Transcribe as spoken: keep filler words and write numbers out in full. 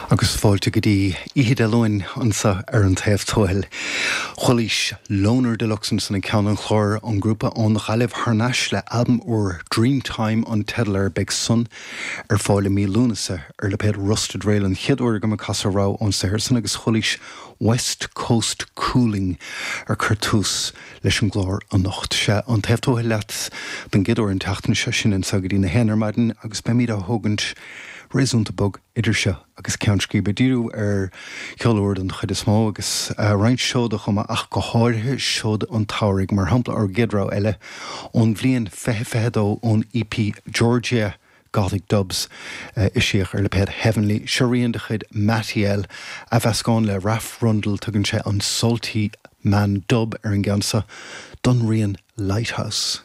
Agus fáilte go dtí Oíche Dé Luain anseo ar an Taobh Tuathail. Chualaís Loner Deluxe san ag ceann an chláir an grúpa ón Ghaillimh thar n-ais le albam úr Dreamtime an teideal air beidh san ar fáil i mí Lúnasa ar lipéad Rusted Rail an chéad uair go casadh rogha ón saothar san agus chualaís West Coast Cooling ar cur tús leis an gclár anocht. Sé an Taobh Tuathail leat den gcéad uair an tseachtain seo sin anseo go dtí na haon ar maidin agus beimid á thógaint réasúnta bog idir seo agus ceann scríbe díriú ar cheol úr den chuid is mó agus uh, roinnt seoda chomh maith ach go háirithe seoda an tsamhraidh mar shampla ár gcéad rogha eile ón bhliain fiche fiche dó ón EP Georgia Gothic Dubs uh, eisíodh ar lipéad Heavenly seo rian de chuid Matty L a mheascán le Raf Rundle tugann sé an Salty Man Dub ar an gceann seo don rian Lighthouse.